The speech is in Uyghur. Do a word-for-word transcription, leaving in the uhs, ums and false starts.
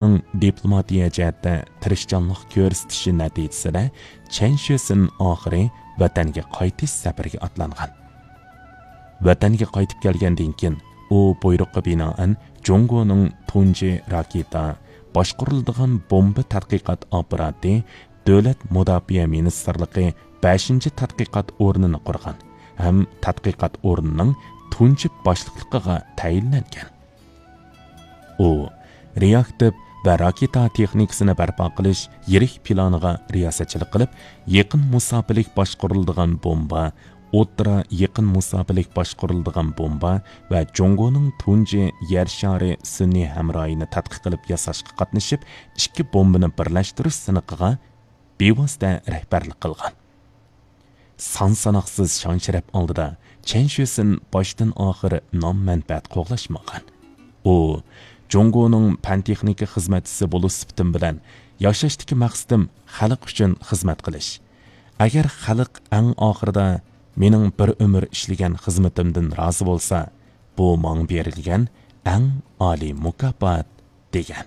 دىپلوماتىيە جەھەتتە تىرىشچانلىق كۆرسىتىشى نەتىجىسىدە، چەن شۆسىن ئاخىرى ۋەتەنگە قايتىش سەپىرىگە ئاتلانغان. ۋەتەنگە قايتىپ كەلگەندىن كېيىن، ئۇ بۇيرۇققا بىنائەن جۇڭگونىڭ تۇنجى راكېتا، باشقۇرۇلىدىغان بومبا تەتقىقات ئاپپاراتى، دۆلەت مۇداپىئە مىنىستىرلىقى بەشىنچى تەتقىقات ئورنىنى قۇرغان ھەم تەتقىقات ئورنىنىڭ تۇنجى باشلىقلىقىغا تەيىنلەنگەن. ئۇ رېئاكتىپ ۋە راكېتا تېخنىكىسىنى بەرپا قىلىش يىرىك پىلانىغا رىياسەتچىلىك قىلىپ، يېقىن مۇساپىلىك باشقۇرۇلىدىغان بومبا، ئوتتۇرا يېقىن مۇساپىلىك باشقۇرۇلىدىغان بومبا ۋە جۇڭگونىڭ تۇنجى يەر شارى سۈنئىي ھەمراھىنى تەتقىق قىلىپ ياساشقا قاتنىشىپ، ئىككى بومبىنى بىرلەشتۈرۈش سىنىقىغا بىۋاسىتە رەھبەرلىك قىلغان. سان-ساناقسىز شان-شەرەپ ئالدىدا چەن شۆسىن باشتىن-ئاخىر نام-مەنپەئەت قوغلاشمىغان. ئۇ جۇڭگونىڭ پەن-تېخنىكا خىزمەتچىسى بولۇش سۈپىتىم بىلەن ياشاشتىكى مەقسىتىم خەلق ئۈچۈن خىزمەت قىلىش. ئەگەر خەلق ئەڭ ئاخىرىدا مېنىڭ بىر ئۆمۈر ئىشلىگەن خىزمىتىمدىن رازى بولسا، بۇ ماڭا بېرىلگەن ئەڭ ئالىي مۇكاپات، دېگەن.